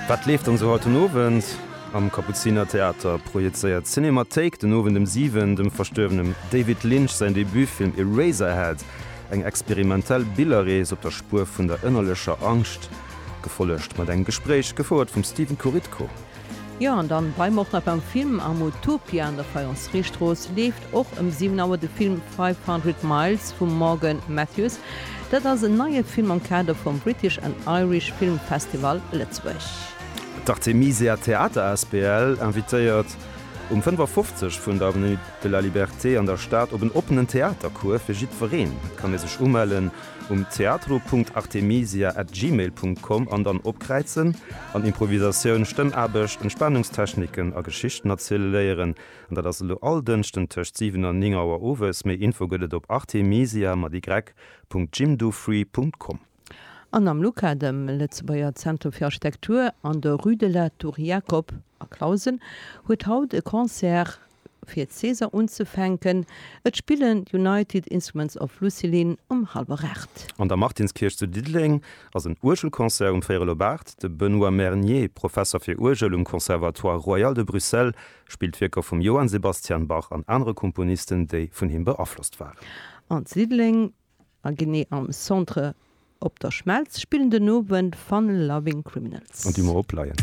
Wat leeft dann esou haut den Owend? Am Kapuzinertheater projezéiert d'Cinémathéik den Owend ëm 7 dem verstuerwenem David Lynch säin Debutfilm Eraserhead, eng experimentell Billerrees op der Spuer vun der ënnerlecher Angscht, gefollegt mat engem Gespréich, gefouert vum Stephen Korytko. Jo, an dann bleiwe mer och nach beim Film. Am Utopia an der Faïenceriestrooss leeft och ëm 7 Auer de Film 500 Miles vum Morgan Matthews. Dat ass en neie Film am Kader vum British and Irish Film Festival Lëtzebuerg. D'Artemisia Theater asbl invitéiert um 55 vun der Avenue de la Liberté an der Stad op en oppenen Theatercours fir jiddwereen. Et kann ee sech umellen um teatro.artemisia at gmail Punkt com an dann opkräizen an Improvisatioun, Stëmmaarbecht, Entspanungstechniken a Geschichten erziele léieren. An dat ass elo all Dënschden tëscht 7 an 9 Auer owes. Méi Info gëtt et op artemisia mat y Punkt jimdofree Punkt com. An am LUCA, dem Lëtzebuerger Zentrum fir Architektur an der Rue de la Tour Jacob a Clausen, huet haut e Concert Fir d'Saison unzefänken, et spillen d'United Instruments of Lucilin um hallwer 8. An der Martinskierch zu Diddeleng ass en Uergelconcert um véierel op 8. De Benoît Mernier, Professer fir Uergel um Conservatoire Royal de Bruxelles, spillt Wierker vum Johann Sebastian Bach an anere Komponisten, déi vun him beaflosst waren. An zu Diddeleng, a genee am Centre Op der Schmelz spillen den Owend Fun Loving Criminals. An déi mer opleien.